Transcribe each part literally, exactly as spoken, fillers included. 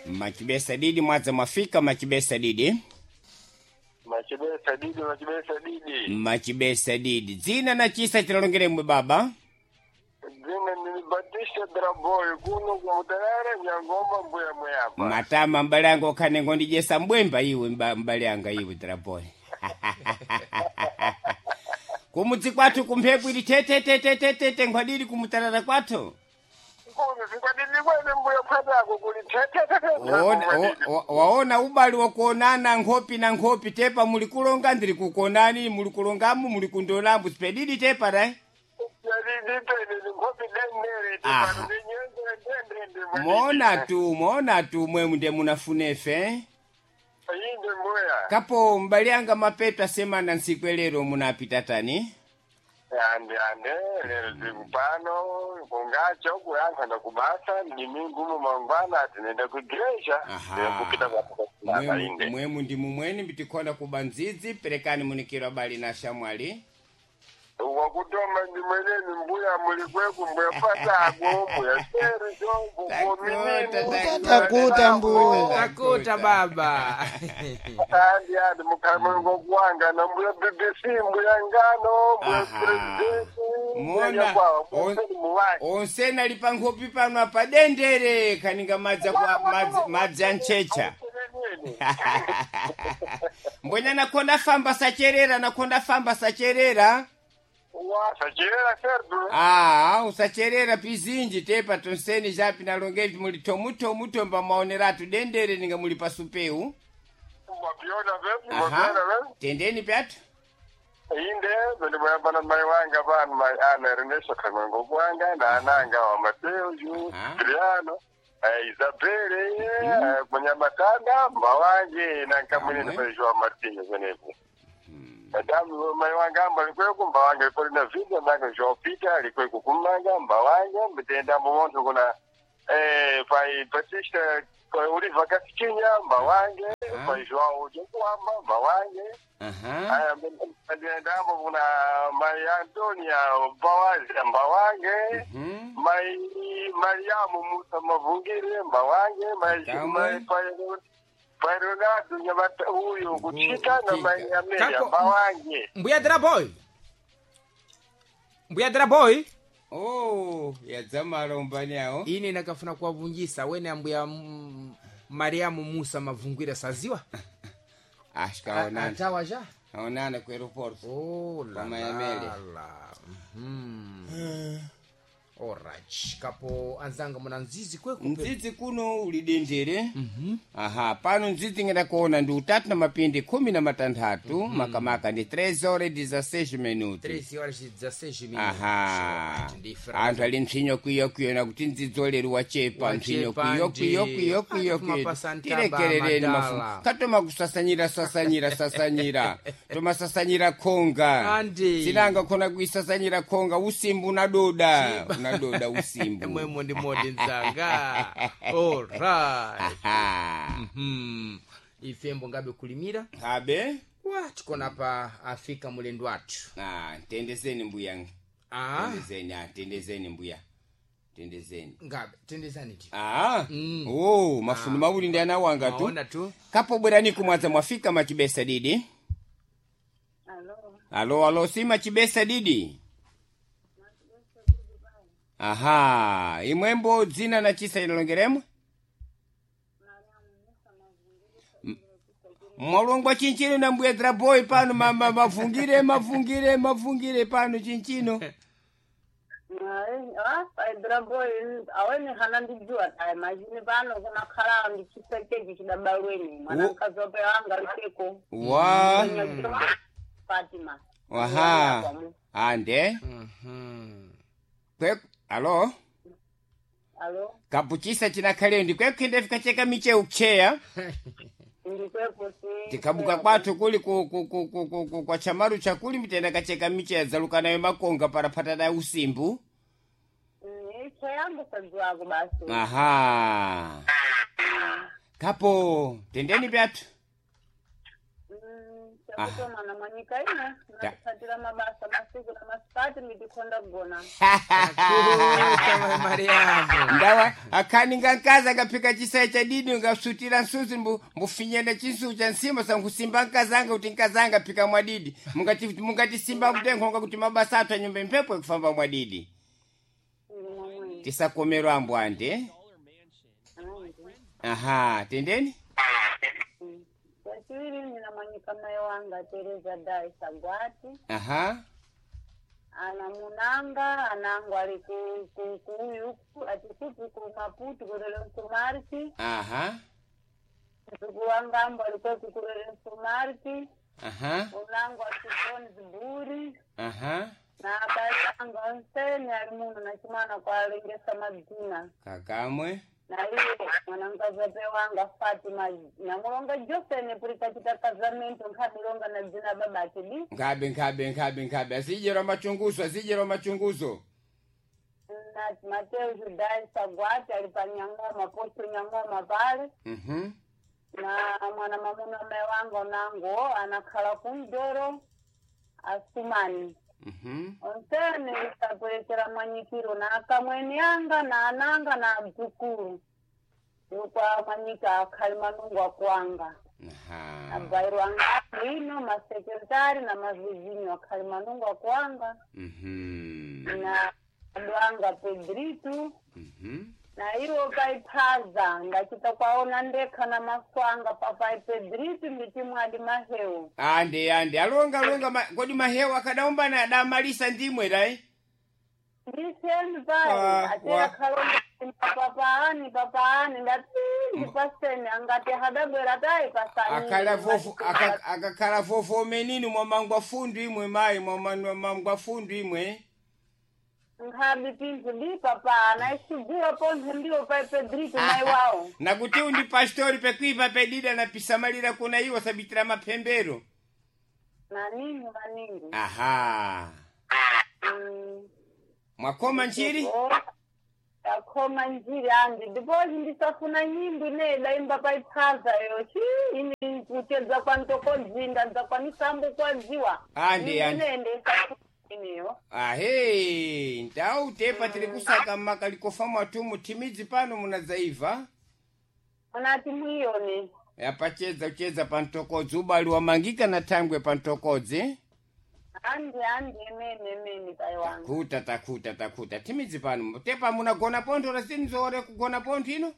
Machibesa didi mwadza mwafika machibesa didi. Machibesa didi, machibesa didi. Machibesa didi. Dzina na chisa chilalongeremwe baba. Dzina ni Batista Draboy kuno kumutarara Nyangoma mbuya mweyapa. Matama mbale anga okhane ngondijesa mbwemba iwe mba- mbale anga iwe Draboy. Kumudzi kwathu kumphepo ili tetetetetete nkhwadili kumutarara kwathu. Kuno sikwadidi kwene mbuya phatako kuli tetetetete. Waona- wa- wa- waona ubali wakuonana nkhopi na nkhopi tepa muli kulonga ndili kukonani muli kulongamu muli kundolambu sipedidi tepa ra Yadidi pene ni nkhopi denere Aha. tipano ndi nyenze ndendende. moona tu moona tu mwemu nde munafunefe Inde mbuya. kapo mbali anga mapeto asemana ntsiku elero munapita tani Ande ande lero zikupano kungacha ukuyankha ndakubasa ndimingumo mangwana ati nenda kuigreja Aha. ndikupita kwapaka mwemu, inde. mwemu ndi mumweni mbitikhola kuba ndzidzi perekani munikiro abali na shamwali Wakutoma ndi mweneni mbuya mulikweku mbuya patako mbuya seri chombo Takuta, Takuta mbuya. Takuta baba. Andi andi mukhamango kuwanga na mbuya B B C, mbuya ngano, mbuya Aha. presidenti. Mona, on- muwaki onse ali pa nkhopi pano apa dendere kaninga madzi aku- madzi- madzi anchecha mbwenya nakhonda famba sacherera, nakhonda famba sacherera. Wasacherera serdu. Ah, usacherera pizinji tepa tonseni japi nalongevi muli tomutomutomba maoneratu dendere ninga muli pasupeu. Mwapiona vepi, Aha. mwapiona vepi. Tendeni pyatu. Inde bendimuyambana mai wanga pano mai ana Ernesto Kang'wengo kwanga na ananga wa Mateo Ju Aha. Adriano, eh, Isabele, eh, Munyamatanda mbawange na nkamwene Amwe. pa Joao Martinez kwenepo. Madamu mai wanga amba likweku mbawange kolina vinja nanga Joao Peter likweku kumanga mbawange mbitenda mumontho kuna eh, pai Batista kwa Oliva Kasikinya mbawange Aha. pai Joao Jokuamba mbawange. Aha. Aya, ndendambo kuna mai Antonia Mbawazi Mbawange, Mhm. mai Mariamu Musa Mavungire Mbawange, mai Kamwe. mai pai- pai Ronaldo Nyamata huyu kuchika na mai Amelia Kako- Mbawange. Mbuya Draboy. Mbuya Draboy. Oh, yadzamala umbani awo. Ine nakafuna kuwavunjisa wene ambuya mm, Mariamu Musa Mavungwira saziwa. Ashikaonana. Atawa ja. Aonana ku aeroporto. Oh la Pamayamele. la la. Mhm. Alright. Kapo anzanga muna nzizi kweku. Mdzidzi kuno uli dendere. Aha, pano mdzidzi ngenda kuona ndi utatu na mapindi khumi na matanthatu, makamaka ndi três horas e dezesseis minutos. treze horas e dezesseis minutos. Aha. Alright, ndi fra- Anthu ali mpsinyo kwiyo kwiyo nakuti mdzidzi olero wachepa mpsinyo Wachepa kwiyo ndi. kwiyo kwiyo kwiyo Anthu kwiyo. mapasa ntaba Tilekerereni madala. mafumu. Katoma kusasanyira sasanyira sasanyira. Tomasasanyira khonga. Andi. Sinanga khona kuisasanyira khonga usimbu unadoda. Unadoda usimbu. Mwemo ndi modi nzanga. Alright. Aha. Mhm. Ifembo ngabe kulimira. Kabe? Wa tikona pa afika mulendo wathu. Ah, tendezeni mbuya. Ah, Tendezeni, ah, tendezeni mbuya. Tendezeni. ngabe tendezani ti. Ah. Mm. Oh, mafundo mawuli ndi ana wanga tu. Maona tu. Kapo bwerani kumwadza mwafika machibesa didi. Alo, Alo, alo, si machibesa didi. Aha, imwembo dzina na chisa inalongeremwe? M- Mwalongwa chinchino na mbuya Draboy pano mama mavungire mavungire mavungire pano chinchino. Draboy awene hana ndijua tayi machini pano kunakhala ndi chisekeji chidabalweni mwana Wo- mkazi wape wanga liseko Wa Fatima. Aha. Ande. Mhm. Kwe alo. Alo, Kapuchisa chinakhale ndi kwekhende fikacheka miche ukcheya. ndikwepo si. Tikabuka kwathu kuli ku, ku, ku, ku, ku, ku, kwa chamaru chakuli mitenda kacheka miche yadzaluka nayo makonga parapata nayo usimbu. Icho yangu sadziwako basi. Aha. Kapo tendeni pyathu. Mm, Takutomana mwanyika ine natipatira mabasa masiku na masikati nditikhonda kugona. Takuta mai Mariamu. Ndawa akhaninga nkazi akaphika chisayi cha didi ngasutira nsuzi mbu mbufinyana chinsu cha nsima sankusimba nkazanga kuti nkazanga phika mwadidi mungati mungatisimba kutenkhonga kuti mabasa athu anyumba mphepo ikufamba mwadidi. Ndimomwe. Tisakomerwa ambwande. Andi. Aha, tendeni. Chachiwiri nina mwanyika mai wanga Tereza Dai Sagwati. Aha. Ana munanga anangu ali ku ku kuuyu atikupi ku Maputo kurele Msumarti. Aha. Mzuku wanga ambo alikuwa kukurele Msumarti. Aha. Unangu atikoni Ziburi. Aha. Na abali anga onsene ali muno na chimwana kwalengesa madzina. Kakamwe. Na iye mwanamkazi wanga Fatima namulonga Josene puli kachita kazamento nkhamilonga na dzina babake di. Nkhabe nkhabe nkhabe nkhabe azijerwa machunguzo azijerwa machunguzo. Na Mateo Judai Sagwati ali pa Nyang'oma posto Nyang'oma pale. Mhm. Na mwana mamuna mai wanga unango anakhala kumdoro Asumani. Mhm. Onsene isaperekera mwanyikiro na akamweni anga na ananga na adzukulu. Yokwa mwanyika akhali manungu akwanga. Aha. Abairo anga ino masekretari na mavizinyo akhali manungu akwanga. Mhm. Na adwanga Pedritu. Mhm. Na iwo paiphaza ndachita kwaona ndekha na maswanga papai Pedritu ndichimwadi mahewu. Ande ande alonga alonga ma, kodi mahewa akadaumbana adamalisa ndimwe dai. Ndiseni pai Wa- atera wa. khalonga papaani papaani ndati ndipaseni angati hadabwera tayi pasani. Akhala vovo aka- akakhala vovo omenini mwamangwa fundu imwe mayi mwamangwa fundu imwe. Nkhabi pinthu di papaana isiguwa pontho ndiwo pai Pedritu mai wawo. Nakuti undi pastori pekuipa pedida na pisamalira kuna iwo sabitira maphembero. Maningi maningi. Aha. Mm. Mwakoma nchiri? Oh, Takhoma njiri andi ndipozi ndisafuna nyimbo ine daimba paiphaza yo chi ini kuchedza kwa ntokodzinda dza kwa misambo kwadziwa. Andi, Nyimbo andi. ine ndisafuna ineyo. Ahe, ndau tepa tiri kusaka makalikofa mwatumu timidzi pano munadzaiva. Unati mwiyoni. Yapachedza kuchedza pantokodzi ubali wamangika na thangwe pantokodzi. Andi andi emene emene pai wanga. Takuta takuta takuta timidzi pano tepa munagona pontho lasinzore kugona pontho ino.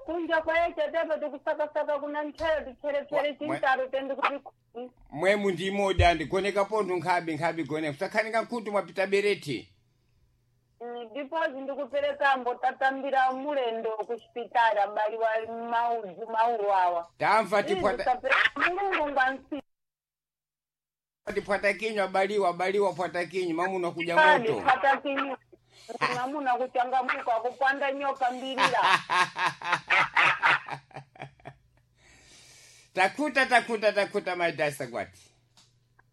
Kunja kwayecha tepa tikusakasaka kuna ntchero ticherepere Mwa- mwa- chintaro tendi kuti khuti. Mwemu ndimodi andigoneka pontho nkhabe nkhabe goneka kusakhanika nkhutu mwapita bereti. Ndipozi ndikuperekambo tatambira mulendo kuchipitali abali wa maudzu maulu awa. Tamva tipwata Izi mulungu ngwansi. tipwata kinywa baliwa baliwa pwata kinywa mamuna kuja Kani moto. pata kinyu. Mamuna kuchangamuka kupanda nyoka mbilira. Takuta takuta takuta maidasa gwati.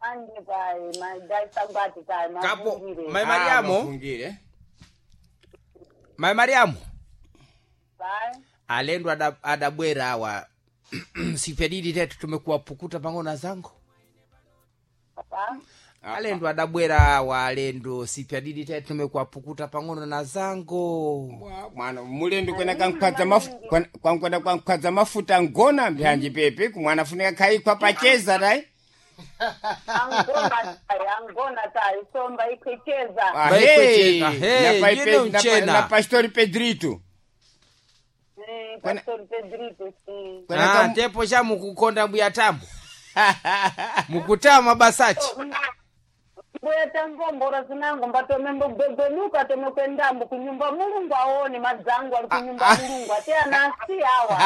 Andi pai maidasa gwati tai Kapo mafungire. mai Mariamu, Mafungire. mai Mariamu. Pai. Alendo ada- adabwera awa sifyadidi tetu tumekuwa pukuta pang'ono zangu. Papa. Alendo adabwera awa alendo sifyadidi tetu tumekuwa pukuta pang'ono na zangu. Mwa- mwana mulendo kwena kankhwadza mafu kwankwena kankhwadza mafuta ngona mbyanji pepe kumwana funika khaikwa pacheza dai. Angona tai angona tai somba ikwecheza. Ahe, Baikwecheza, he, na pai yine Pe- na pa- mchena. na pastori Pedrito. Eh, Kwena- Pastor Pedrito si. Kwena Ah, kam- tepo cha mukukonda mbuya tambo. Mukutama basachi. Mbuya tangombora zinango mbatome mbogwegenuka tome kwendambo kunyumba mulungu aone madzangu ali kunyumba mulungu ate anasi awa.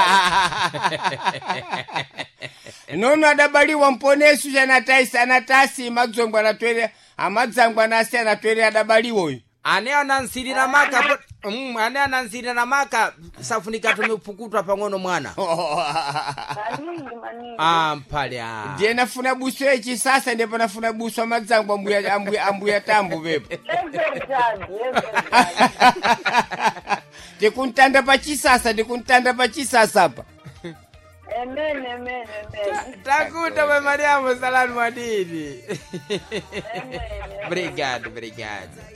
Nono adabaliwa mponesu chanataisi anatasi madzongwe anatwere amadzangwe anasi anatwere adabaliwa uyu. Ane anansirira maka po- mm, ane anansirira maka safunika tumepukutwa pang'ono mwana. Maningi maningi. Ah, mpale ah. Ndiye nafuna buso yechisasa ndipo nafuna buso amadzangwe ambuya ambuya ambuya tambo pepo. É verdade, é verdade. Tikuntanda pachisasa tikuntanda pachisasa pa. Amen, amen, amen. Takuta mai Mariamu salani mwadidi. Amen. Obrigado, obrigado.